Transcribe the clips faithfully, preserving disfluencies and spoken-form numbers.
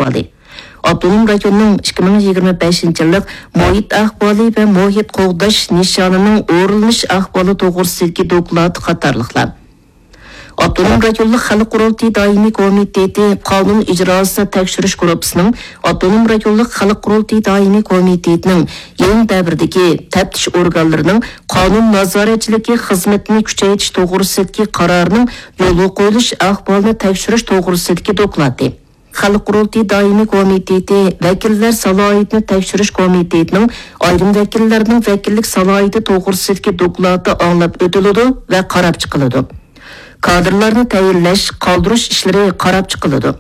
ئەھۋالى، ئاپتونوم رايوننىڭ ئىككى مىڭ يىگىرمە بەشىنچى يىللىق مۇھىت ئەھۋالى ۋە مۇھىت قوغداش نىشانىنىڭ ئورۇنلىنىش ئەھۋالى توغرىسىدىكى دوكلات قاتارلىقلار. ئاپتونوم رايونلۇق خەلق قۇرۇلتىيى دائىمىي كومىتېتى قانۇن ئىجراسىنى تەكشۈرۈش گۇرۇپپىسىنىڭ ئاپتونوم رايونلۇق خەلق قۇرۇلتىيى دائىمىي كومىتېتىنىڭ يېڭى دەۋردىكى تەپتىش ئورگانلىرىنىڭ قانۇن نازارەتچىلىكى خىزمىتىنى كۈچەيتىش توغرىسىدىكى قارارنىڭ يولغا قويۇلۇش ئەھۋالىنى تەكشۈرۈش توغرىسىدىكى دوكلاتى. خەلق قۇرۇلتىيى دائىمىي كومىتېتى ۋەكىللەر سالاھىيىتىنى تەكشۈرۈش كومىتېتىنىڭ ئايرىم ۋەكىللەرنىڭ ۋەكىللىك سالاھىيىتى توغرىسىدىكى دوكلاتى ئاڭلاپ ئۆتۈلىدۇ ۋە قاراپ چىقىلىدۇ. كادىرلارنى تەيىنلەش، قالدۇرۇش ئىشلىرى قاراپ چىقىلىدۇ.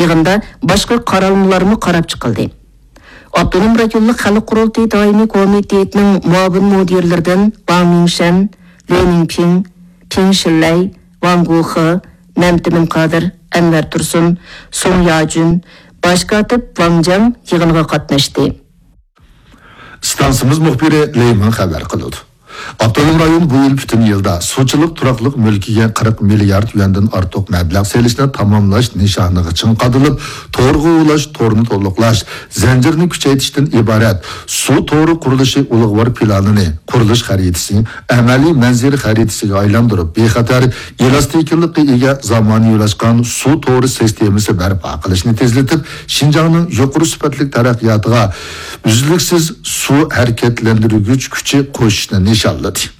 يىغىندا باشقا قارالمىلارمۇ قاراپ چىقىلدى. ئاپتونوم رايونلۇق خەلق قۇرۇلتىيى دائىمىي كومىتېتىنىڭ مۇئاۋىن مۇدىرلىرىدىن ۋاڭ مىڭشەن، لې نىڭپىڭ، پىڭ شىلەي، ۋاڭ گۇخې، نەمتىمىن قادىر، ئەنۋەر تۇرسۇن، سۇڭ ياجۈن، باش كاتىپ ۋاڭ جياڭ يىغىنغا قاتناشتى. ئىستانسىمىز مۇخبىرى لېي مىڭ خەۋەر قىلىدۇ. ئاپتونوم رايون بۇ يىل پۈتۈن يىلدا سۇچىلىق تۇراقلىق مۈلكىگە قىرىق مىليارد يۈەندىن ئارتۇق مەبلەغ سېلىشنى تاماملاش نىشانىغا چىڭ قادىلىپ، تورغا ئۇلاش، تورنى تولۇقلاش زەنجىرىنى كۈچەيتىشتىن ئىبارەت سۇ تورى قۇرۇلۇشى ئۇلۇغۋار پىلانىنى، قۇرۇلۇش خەرىتىسى ئەمەلىي مەنزىرە خەرىتىسىگە ئايلاندۇرۇپ، بىخەتەر، ئېلاستىكىلىققا ئىگە زامانىۋىلاشقان سۇ تورى سىستېمىسى بەرپا قىلىشنى تېزلىتىپ، شىنجاڭنىڭ يۇقىرى سۈپەتلىك تەرەققىياتىغا ئۈزلۈكسىز سۇ ھەرىكەتلەندۈرگۈچ كۈچى قوشۇشنى نىشانلىدى.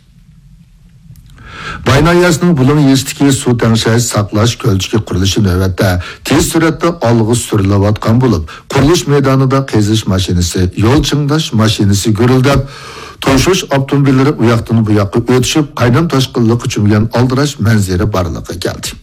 باي ناھىيەسىنىڭ بۇلۇڭ يېزىسىدىكى سۇ تەڭشەش، ساقلاش كۆلچىكى قۇرۇلۇشى نۆۋەتتە تېز سۈرئەتتە ئالغا سۈرۈلۈۋاتقان بولۇپ، قۇرۇلۇش مەيدانىدا قېزىش ماشىنىسى، يول چىڭداش ماشىنىسى گۈرۈلدەپ، توشۇش ئاپتوموبىللىرى ئۇياقتىن بۇياققا ئۆتۈشۈپ، قاينام تاشقىنلىققا چۆمگەن ئالدىراش مەنزىرە بارلىققا كەلدى.